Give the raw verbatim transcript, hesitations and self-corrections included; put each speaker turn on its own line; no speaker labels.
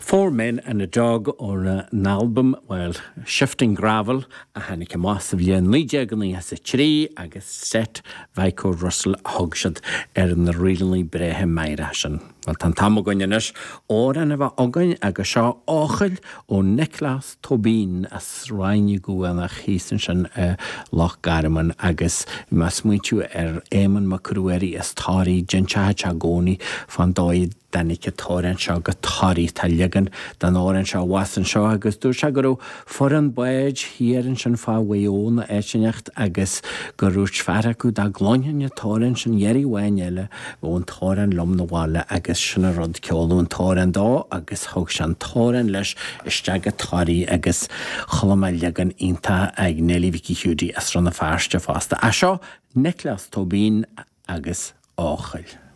Four Men and a Dog ón n-albam well Shifting Gravel a tháinig amach sa bhliain naoi déag nócha a trí agus Set Mhichael Russell a thug siad ar na ríleanna breátha meidhreacha sin. Well tá an t-am againn anois amhrán a bheith againn agus seo Eochaill ó Nioclás Tóibín as Ráth na gCuanach thíos ansin i Loch Garman agus mé ag smaointiú ar Éamonn Mac Ruairí as Toraigh d'inseodh sé i gcónaí fán dóigh a dtáinig an t-amhrán seo go Toraigh tá leagan den amhrán seo abhus anseo agus dúirt sé go raibh foireann báid thiar ansin fá Mhaigh Eo nó áit inteacht agus gur dhúirt fear acu dá gcluinfinn an t-amhrán sin iarraidh amháin eile bheadh an t-amhrán liom 'na bhaile agus sin an rud ceoladh an t-amhrán dó agus thug sé an t-amhrán leis isteach go Toraigh agus chuala mé leagan iontach ag Neilí Mhicí Hiúdaí as Rann na Feirste fosta. A seo Nioclás Tóibín agus Eochaill.